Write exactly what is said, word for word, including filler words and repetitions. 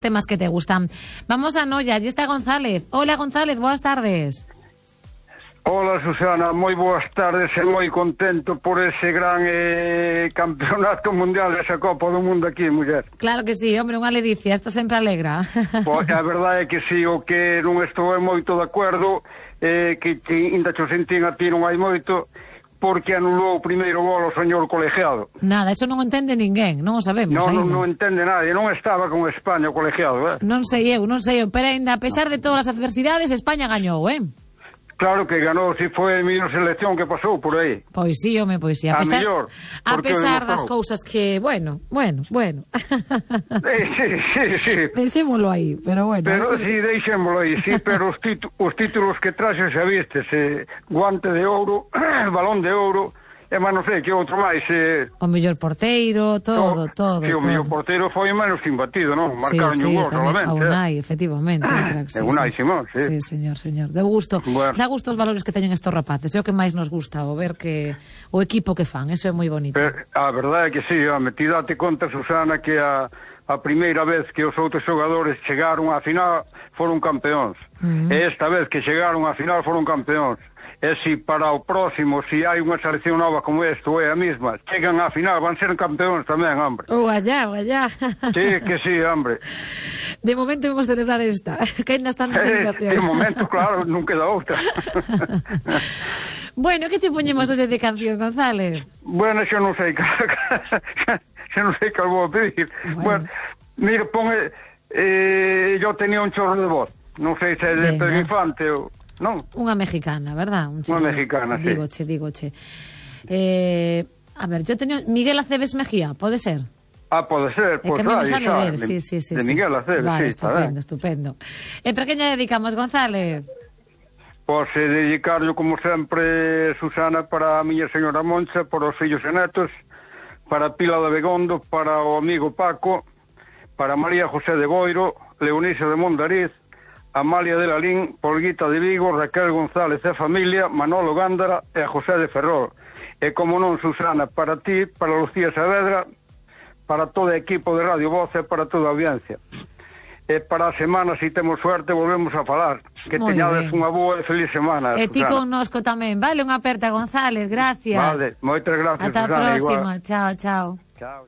temas que te gustan. Vamos a Noia, allí está González. Hola González, boas tardes. Hola Susana, moi boas tardes e moi contento por ese gran eh, campeonato mundial desa Copa do Mundo aquí, muller. Claro que sí, hombre, unha ledicia, isto sempre alegra. Pois a verdade é que si, o que non estou moito de acordo, eh, que, que ainda cho sentín a ti non hai moito, porque anulou o primeiro gol ao señor colegiado. Nada, eso non entende ninguén, non o sabemos. Non, non, ainda. non entende nadie, non estaba con España o colegiado, eh? Non sei eu, non sei eu, pero ainda a pesar de todas as adversidades, España gañou, eh? Claro que ganou, si foi a mellor selección que pasou por aí. Pois sí, home, pois sí. A, A pesar, mellor, a porque pesar das demostrou. cousas que, bueno, bueno, bueno. Eh, sí, sí, sí. Deixémolo aí, pero bueno. Pero eh. si, sí, deixémolo aí, sí, pero os, titu os títulos que traxe xa vistes, eh, guante de ouro, balón de ouro, e máis non sei que outro máis. Eh, O mellor porteiro, todo, to, todo. Si, o todo. mellor porteiro foi menos que imbatido, non? Marcaron sí, sí, un gol, tamén, solamente. a Unai, eh. efectivamente. É Unai Simón, sí. Sí, señor, señor. De gusto. Bueno. Dá gusto os valores que teñen estos rapaces. É o que máis nos gusta, o ver que o equipo que fan, eso é moi bonito. Pero, a verdade é que sí, home, ti date conta, Susana, que a, a primeira vez que os outros xogadores chegaron á final foron campeóns. Uh -huh. E esta vez que chegaron á final foron campeóns. E si para o próximo, si hai unha selección nova como esta, ou é a mesma, chegan á final, van ser campeóns tamén, hombre. O allá, o allá. Sí, que sí, hombre. De momento vamos a celebrar esta, que ainda están en celebración. De momento, claro, non queda outra. Bueno, que che poñemos hoxe de canción, González? Bueno, xa non sei, xa non sei cal vou pedir. Bueno, bueno mira, pon, eh, yo tenía un chorro de voz, non sei se é de Pedro Infante ou... Non? Unha mexicana, verdad? Un Unha mexicana, sí. Dígoche, dígoche. Eh, a ver, yo teño Miguel Aceves Mejía, pode ser? Ah, pode ser, É pois que me vai, sale xa, ver, de, sí, sí, sí, de sí. Miguel Aceves, vale, sí, está ben. estupendo, estupendo. E para quen lle dedicamos, González? Pois eh, dedicarlo, como sempre, Susana, para a miña señora Moncha, para os fillos e netos, para Pila de Begondo, para o amigo Paco, para María José de Boiro, Leonisa de Mondariz, Amalia de Lalín, Polguita de Vigo, Raquel González e familia, Manolo Gándara e José de Ferrol. E como non, Susana, para ti, para Lucía Saavedra, para todo o equipo de Radio Voz e para toda a audiencia. E para a semana, se si temos suerte, volvemos a falar. Que Muy teñades bien. unha boa e feliz semana, E ti Susana. connosco tamén. Vale, unha aperta, González, gracias. Vale, moitas gracias, Ata a Susana. próxima, Igual. chao, chao. Chao.